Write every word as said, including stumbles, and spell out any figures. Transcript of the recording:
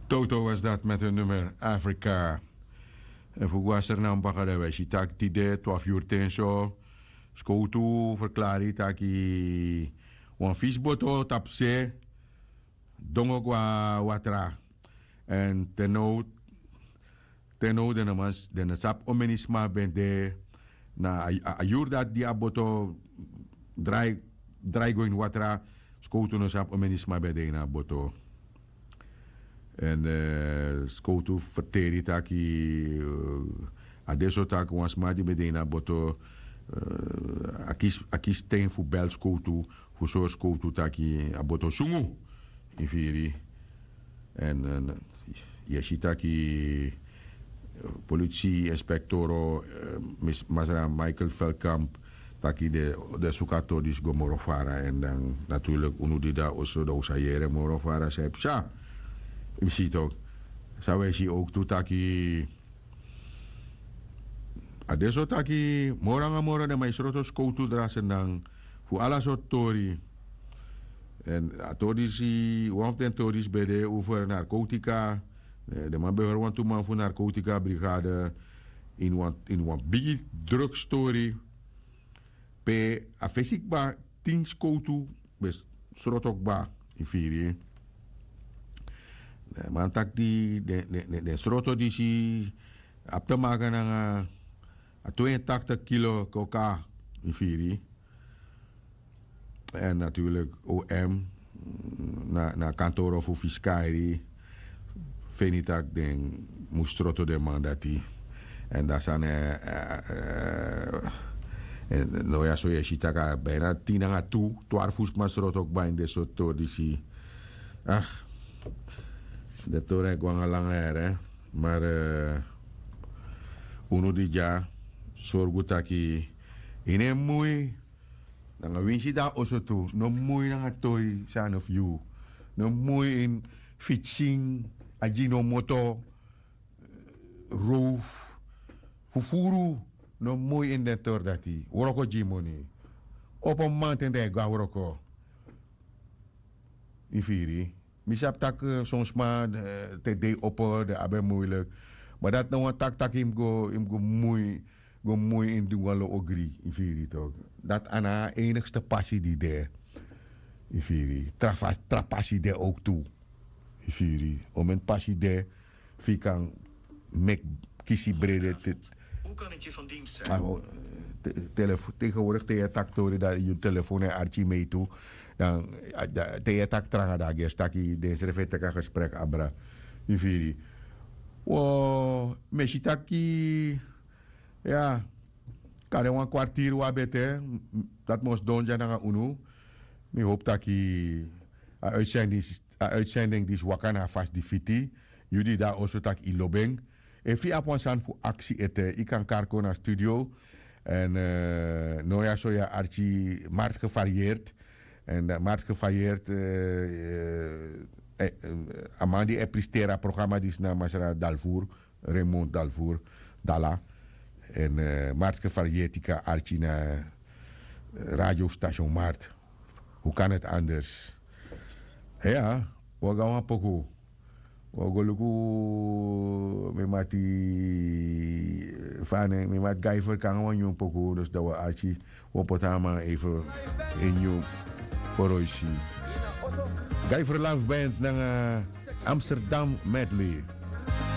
Toto was dat met hun nummer Afrika. En fu gwaser na mbaka de wesi taki tide twaalf uur ten so. Skowtu verklari taki wan fisboto tapse dongo gwa watra. En teno teno den na man den na sap omenisma ben de na a yur dat di a boto drai drai go in watra. Skowtu no sap omenisma ben de in a boto. En skowtu ferteri taki a de so taki wan sma di ben de in a boto a kisi ten fu bel skowtu fu sori skowtu taki a boto sungu. Yu firi? En yu e si taki politisi inspektoro masra michael feldkamp taki den suku a tori disi go moro fara en dan naturlik unu di de na oso dan un sa yere moro fara san e psa. Yu si tok san un e si owk tu taki a de so taki moro nanga moro den man e sroto skowtu drasendan fu ala sortu tori. En a tori disi wan fu den tori disi ben de over narkotika. Den man ben hori wantu man fu narkotika brigade ini wan bigi drugstori pe a fesi kba tin skowtu ben sroto kba. Yu firi? Man taki di den sroto disi abi te maka nanga a tweeëntaktig kilo koka. Yu firi? En natuurlik om na kantoro fu fiskari feni tak' den mus sroto den man dati. En dan sani no ya so yu e si tak' a bina tin nanga tu twarfu sma sroto kba ini den sortu tori disi. Ah, den tori e go nanga langa here. Mar unu di dya sorgu taki yu no e mui nanga winsi de na oso tu. No mui nanga toi sani fu yu. No mui ini fitsin a gi no moto. Rowfu fufuru. No mui ini den tori dati wroko gi moni. Opo mamanten dan e go na wroko. Yu firi? Mi sabi tak' son sma te dei opo den abi en muilik. Ma dati na wan taki tak' yu mus go yu mus go mui go mui ini di wan lo ogri. Yu firi tok? Dati a na a enigste pasi di de. Yu firi? Tra pasi de owk tu. Yu firi? Omeni pasi de fu yu kan meki kisi brede. Tegenwoordig te yu e taki tori dan yu telefon e arki mei tu. Dan te yu e taki tranga dan a gersi taki den srefi e teki a gesprek abra. Yu firi? Wo mi e si taki ya. Kari wan kwartiri wan bete. Dati mi o sidon dya nanga unu. Mi howpu taki a uitsending disi waka na a fasi di fiti. Yu di de na oso tak' yu lobi en. Efu yu abi wan sani fu aksi ete yu kan kari kon na studio. Èn no ya so yu e arki mark gevarieerd. Èn mark gevarieerd a man di e pristeri a programa disi na masra dalvoer, raymond dalvoer, dala. Èn mark gevarieerd yu kan arki na radio station mart. Hoe kan het anders? Ya, wi o go na wan poku. Wi o go luku mi mati. Fa a nen mi mati gaifer kon nanga wan nyun poku dus dan wi o arki. Wi o poti a man even en nyun. Foroisi. Gaifer love band nanga amsterdam medley.